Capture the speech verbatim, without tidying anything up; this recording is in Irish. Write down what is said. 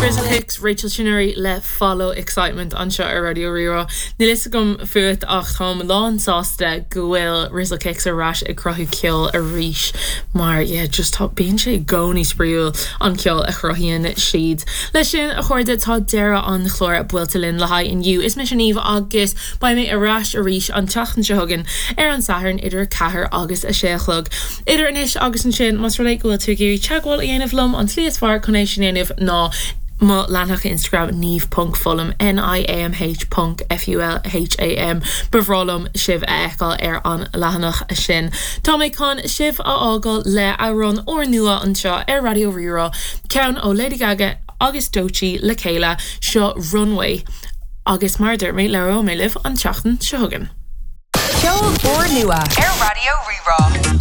Rizzle Kicks Rachel Chinouriri le Follow Excitement anseo ar Raidió Rí-Rá. Níl fhios agam fút ach táim lán sásta go bhfuil Rizzle Kicks ar ais ag cruthú ceol arís mar yeah, just tá bíonn sé i gcónaí spraíúil an ceol a chruthaíonn siad. Leis sin a chairde tá deireadh an chláir buailte linn le haghaidh inniu. Is mise Niamh agus beidh mé ar ais arís an tseachtain seo chugainn ar an Satharn idir ceathair agus a sé a chlog. Idir anois agus ansin más rud é go bhfuil tú ag iarraidh teagmháil a dhéanamh liom an tslí is fearr chun é sin a dhéanamh ná mo leathanach Instagram niamh.fulham N-I-A-M-H ponc F-U-L-H-A-M Ba bhreá liom sibh a fheiceáil ar an leathanach sin. Tá mé chun sibh a fhágáil le amhrán úrnua anseo ar Raidió Rí-Rá ceann ó Lady Gaga agus Doechii le chéile seo Runway agus mar a dúirt mé labhróidh mé libh an tseachtain seo chugainn. Ceol úrnua ar Raidió Rí-Rá.